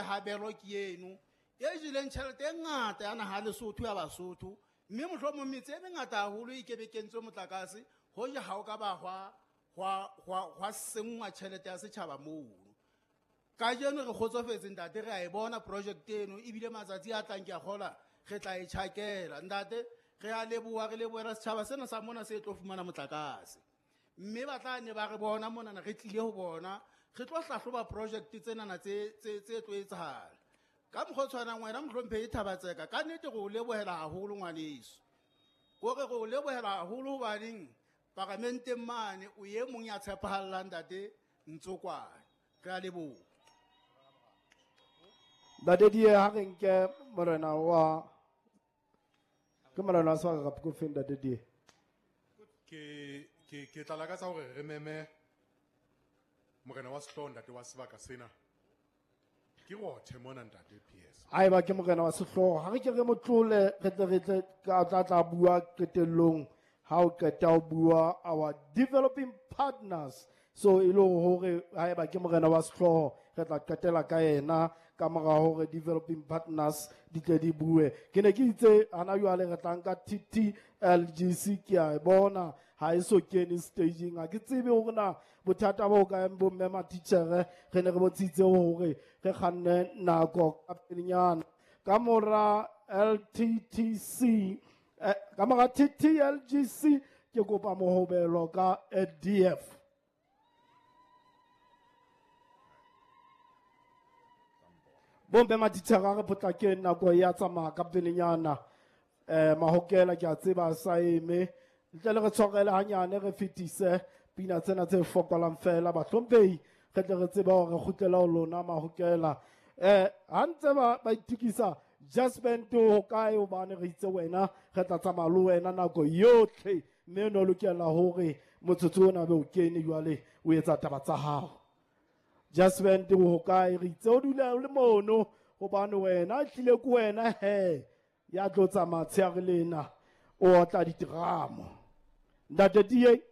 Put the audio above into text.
ya Habero ke eno e jeleng tjhelete e ngata ya naha Lesotho ya Basotho, mme mohlomong metse e mengata haholo e kebe kentswe motlakase hoja ha o ka ba hwa senngwa tjhelete ya setjhaba mono. Kajeno re kgotsofetse ntate, re a e bona project eno ebile matsatsi a tlang ke a kgola re tla e tjhakela. Ntate, re a leboha, re lebohela setjhaba sena sa mona se tlo fumana motlakase. Mme ba tla ne ba re bona monana re tlile ho bona, re tlo hlahloba project tsenana tse tlo etsahala. Ka mokgwa o tshwanang wena mohlomphehi Thabatseka, ka nnete re o lebohela haholo ngwaneso. Kore re o lebohela haholo hobaneng paramenteng mane o e mong ya tshepahallang ntate Ntsokwane. Re a leboha. Ntate Die, ha re nke morena wa ke morena wa sebaka kapa ke ofeng, Ntate Die? Ke tla lakatsa hore re meme morena wa sehlooho ntate wa sebaka sena. Ke rothe mona ntate PS. Haeba ke morena wa sehlooho, ha re ke re mo tlole, re tle re tle ka tla tla bua qetellong ha o qeta ho bua our developing partners. So e le hore haeba ke morena wa sehlooho, re tla qetela ka yena ka mora hore developing partners di tle di bue. Ke ne ke itse hana jwale re tla nka TTLGC, ke a e bona ha e so kene staging. Ha ke tsebe hore na bothata bo kae bo mme matitjhere, re ne re bontshitse hore re kganne nako ka pelenyana. Ka mora LTTC, ka mora TTLGC ke kopa mohobelo ka DF. Bombe matitjhere a re potlakeng, nako ya tsamaya ka pelenyana. Mahokela ke a tseba a sa eme. Ntle le re tshwarele hanyane, re fetise pina tsena tse fokolang fela, bahlomphehi, re tle re tsebe hore re kgutlela ho lona mahokela. Ha ntse ba itukisa, Jasmine ho kae, hobane re itse wena re tla tsamaya le wena nako yotlhe, mme no lokela hore motsotso ona be o kene jwale o etsa taba tsa hao. Jasmine ho kae, re itse o dula o le mono hobane wena tlile ke wena he ya tlo tsamaya tsheare lena o otla diteramo. Ntate Die.